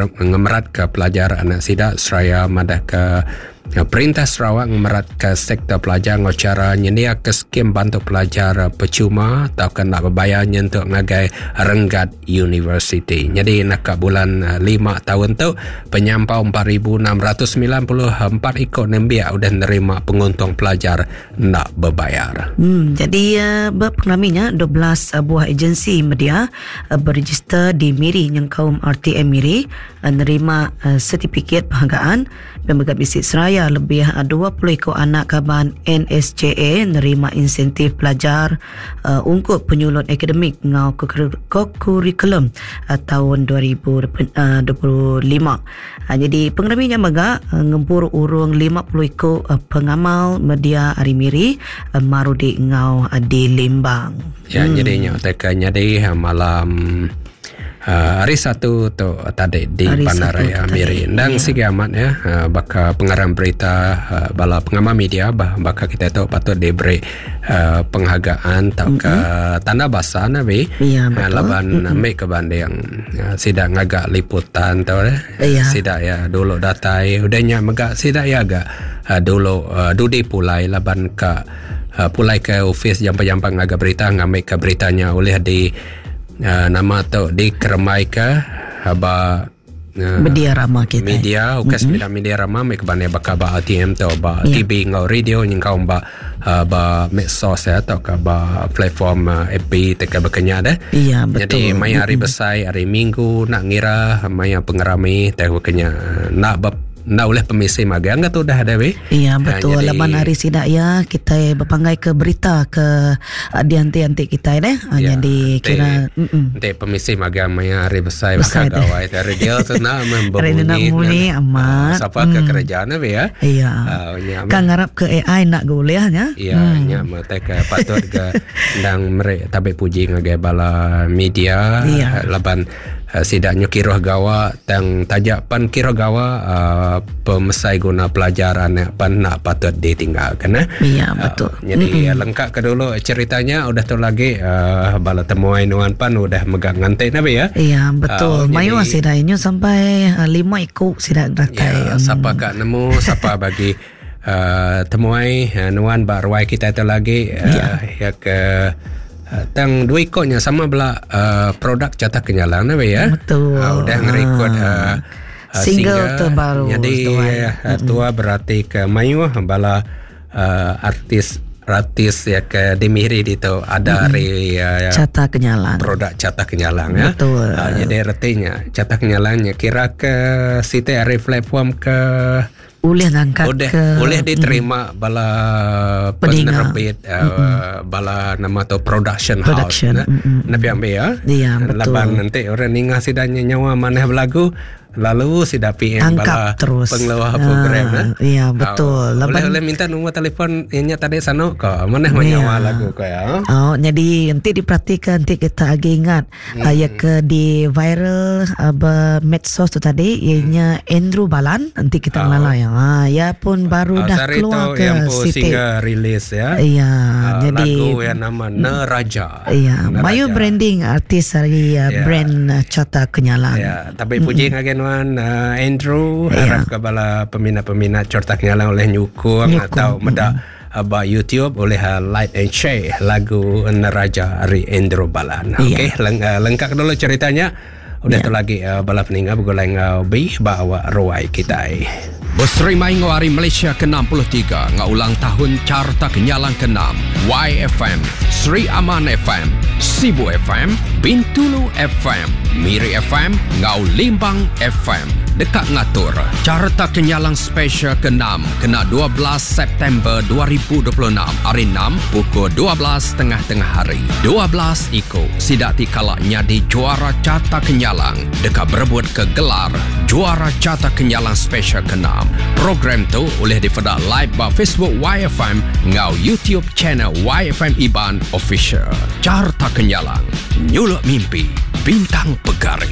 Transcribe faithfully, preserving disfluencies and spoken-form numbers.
ngemerat ke pelajar anak sida seraya madah ke Perintah Sarawak ngemerat ke sektor pelajar ngau cara nyendia ke skim bantu pelajar percuma atau kena berbayar nyentuk ngagai renggat universiti. Jadi nak bulan lima tahun tu penyampau empat ribu enam ratus sembilan puluh empat ikut nembiak udah nerima penguntung pelajar nak berbayar. Hmm, jadi uh, berpengalaminya dua belas buah agensi media uh, berregister di Miri yang kaum R T M Miri uh, nerima uh, sertifikat penghargaan dan bergab isi seraya lebih dua puluh ekor anak kaban N S J A nerima insentif pelajar uh, ungkup penyulut akademik ngau kurikulum uh, tahun dua ribu dua puluh lima. Uh, jadi pengeraminya mega uh, ngempur urung lima puluh ekor uh, pengamal media hari Miri uh, Marudi ngau uh, di Limbang. Ya, hmm. Jadinya teka jadi malam Uh, hari Satu tu tadi di hari Bandaraya Miri. Dan ya. Sigi amat ya, uh, baka pengarang berita uh, bala pengamal media bah, baka kita tu patut diberi uh, penghargaan atau ke mm-hmm. tanda basa nabi. Ya, betul. Uh, laban mm-hmm. ambil ke banding uh, sidak ngagak liputan tu eh. Ya. Sidak ya dulu datai udahnya megak sidak ya agak uh, dulu uh, dudi pulai laban ke uh, pulai ke office jampa-jampa ngagak berita ngambil ke beritanya oleh di Uh, nama tu dikeremai ke haba uh, media rama kita media ukas mm-hmm. media rama mek bane baka ba A T M tu ba yeah. T V ngau radio yang kau ba uh, ba medsos ya atau ke ba platform uh, F B teka bekenya dah. Iya, betul. Jadi maya hari mm-hmm. besar hari Minggu nak ngira maya pengerami teh bekenya nak ba nak oleh pemisi magang ke tu dah ada we. Iya betul. Ha, jadi, laban hari sidak ya kita berpanggai ke berita ke uh, dianti-anti kita deh. Ha, ya, jadi kira nanti pemisi magang maya hari besar bakal gawai dari dia tu nak membunyi amat. Siapa ke kerajaan we ya. Iya. Uh, kan ngarap ke A I nak golehnya. Iya, nya mate ke patut ke ndang merek tabe puji ngagai bala media ya. Laban uh, sidaknya kiroh gawa tang tajak pan kiroh gawa uh, pemesai guna pelajar anak pan nak patut ditinggalkan eh. Iya betul. Uh, jadi mm-hmm. lengkap ke dulu ceritanya udah tu lagi uh, bala temuai nuan pan udah megang ngantik nabi ya. Iya betul. Uh, Mayu sidak inyo sampai uh, lima ikut sidak datai. Ya, mm. Siapa kak nemu siapa bagi uh, temuai uh, nuan baruai kita tu lagi uh, ya. Ya ke Uh, tang dua ikutnya sama bela uh, produk Carta Kenyalang nabi ya. Betul. Uh, udah ngerekod uh, uh, single terbaru. Jadi uh, tua berarti ke mayu bala uh, artis artis ya ke di Miri itu ada hari mm-hmm. uh, Carta Kenyalang. Produk Carta Kenyalang ya. Betul. Uh, jadi artinya Carta Kenyalangnya kira ke site hari platform ke boleh ngangkat boleh, ke boleh diterima mm. bala penerbit uh, bala nama tu production, production house mm-hmm. Nabi ambil ya. Iya betul. Laban nanti orang ningah sidanya nyawa maneh berlagu lalu sidak P M tangkap bala terus pengelola program ah, nah. Iya betul. Uh, Laban boleh boleh minta nombor telefon ianya tadi sano ke maneh menyawa ya. Lagu ko ya. Oh jadi nanti diperhatikan nanti kita lagi ingat hmm. uh, ya ke di viral uh, medsos tu tadi ianya Andrew Balan nanti kita oh. ngelala ya. Ha, ya pun baru uh, dah keluar ke yang Siti single rilis ya. Iya, uh, jadi lagu yang nama Neraja. Iya, Mayu branding artis dari uh, ya. brand uh, Carta Kenyalang. Ya, tapi puji mm-hmm. Nuan uh, Andrew ya. Harap ke bala peminat-peminat Carta Kenyalang oleh nyukung, nyukung. Atau medak mm-hmm. uh, YouTube oleh uh, like and share lagu Neraja dari Andrew Balan. Ya. Okey, leng- uh, lengkap dulu ceritanya. Udah Ya. tu lagi uh, bala peninggal bergulai ngau bi bawa ruai kita. Berserimai ngau hari Malaysia ke enam puluh tiga ngau ulang tahun Carta Kenyalang ke enam Y F M, Sri Aman F M, Sibu F M, Bintulu F M, Miri F M, ngau Limbang F M. Dekat ngatur Carta Kenyalang Special ke enam kena dua belas September dua ribu dua puluh enam hari enam pukul dua belas tengah-tengah hari. dua belas iko sidak tikala nyadi juara Carta Kenyalang dekat berebut ke gelar juara Carta Kenyalang Special ke enam. Program tu boleh difedak live ba Facebook Y F M ngau YouTube channel Y F M Iban Official. Carta Kenyalang, nyuluk mimpi, bintang pegari.